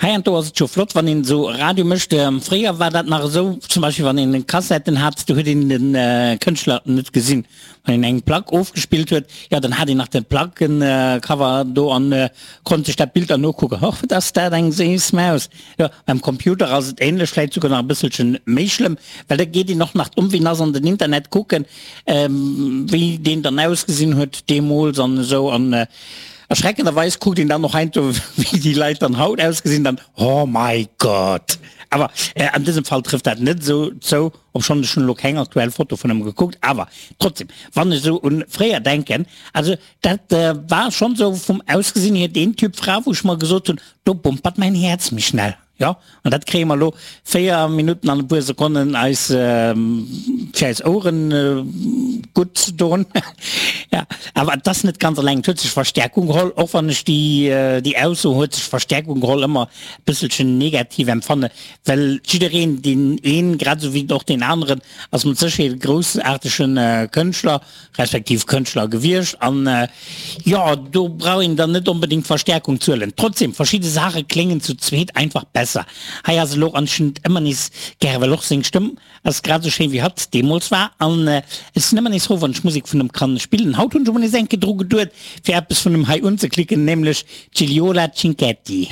Heiansdo ass et jo flott, wann een esou Radio mécht. Fréier war dat nach esou, zum Beispill wann een Kassetten hat, do huet een de Kënschtler net gesinn. Wann een eng Plack ofgespillt huet, jo dann hat een nach de Plackencover do an konnt sech dat Bild dann nokucken, Och wat ass dat eng séiss Maus. Jo, beim Computer ass et ähnlech, vläit souguer nach e bësselchen méi schlëmm, well da geet een och nach d'Omwee nass an den Internet kucken, wéi deen dann ausgesinn huet deemools an esou. An erschreckenderweis kuckt een dann och heiansdo wéi déi Leit dann haut ausgesinn, dann, Oh my God! Awer an dësem Fall trëfft dat net esou zou. Obschonn ech hunn elo keng aktuell Foto vun em gekuckt, awer trotzdem, wann ech esou un fréier denken, also dat war schonn esou vum Ausgesinn hier deen Typ Fra, wou ech mer gesot hunn, do bumpert mäin Häerz méi schnell. Jo, an dat kréie mer elo 4 Minutten an e puer Sekonnen eis fir eis Oueren gutt ze doen. Jo, awer et ass net ganz eleng, et huet sech Verstärkung geholl, och wann ech déi déi Ausso huet sech Verstärkung geholl ëmmer e bësselchen negativ empfanne, Well jiddereen, deen een grad esou wéi och deen aneren, ass mat Sécherheet e groussaartege Kënschtler, respektiv Kënschtler gewiescht. An jo, do brauch een dann net onbedéngt Verstäerkung ze huelen. Trotzdem, verschidde Saache kléngen zu zweet einfach besser. Hei ass elo anscheinend ëmmer nees gäre, well och seng Stëmm ass grad esou schéin wéi hatt deemools war. An ech sinn ëmmer nees frou, wann ech Musek vun em kann spillen. Haut hunn ech emol nees eng Kéier dru geduet, fir eppes vun em hei unzeklicken, nämlech Gigliola Cinquetti.